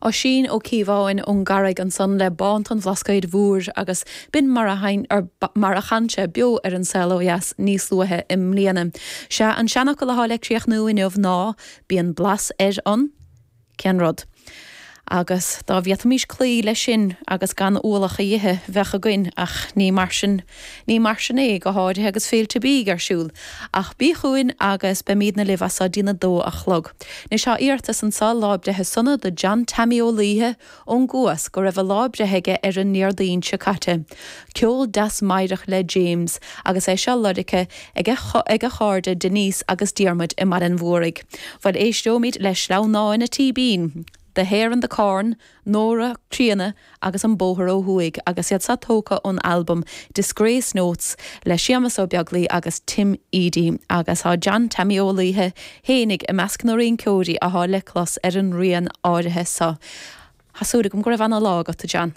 Oisín Ó Cíobháin ón gCarraig ansan le Bánta an Bhlascaoid Mhóir agus b'in mar a mar a chan sé beo ar An Saol Ó Dheas níos luaithe i mbliana. Sea, an seanfhocal athá le críochnú inniu ná, Bíonn blas ar an. Cén rud? Agus dá bhféadfaimis cloí leis sin agus gan ualach a ithe, bheadh againn, ach ní mar sin, ní mar sin é, go háirithe agus féilte bídh ar siúl. Ach bí chugainn agus beimídne libh as seo dtí'n 2 a chlog. Anois tá iarratas anso, lá breithe sona do John Tammy Ó Laoithe ón gCuas, go raibh a lá breithe aige ar an nDéardaoin seo caite. Ceol deas meidhreach le James, agus é seo lorgtha ag a ag a chairde Denise agus Diarmuid i mBaile an Mhúraigh. Bhuel éisteoimid le Sleamhnáin a' Tíbín, The Hare and the Corn, Nóra Críonna agus An Bóthar Ó Thuaidh agus iad seo tógtha ón albam Disgrace Notes le Séamus Ó Beaglaoi agus Tim Edey agus tá John Tammy Ó Laoithe fhéinig i measc na rinceoirí athá le clos ar an rian áirithe seo. Tá súil agam go raibh ana lá agat a John.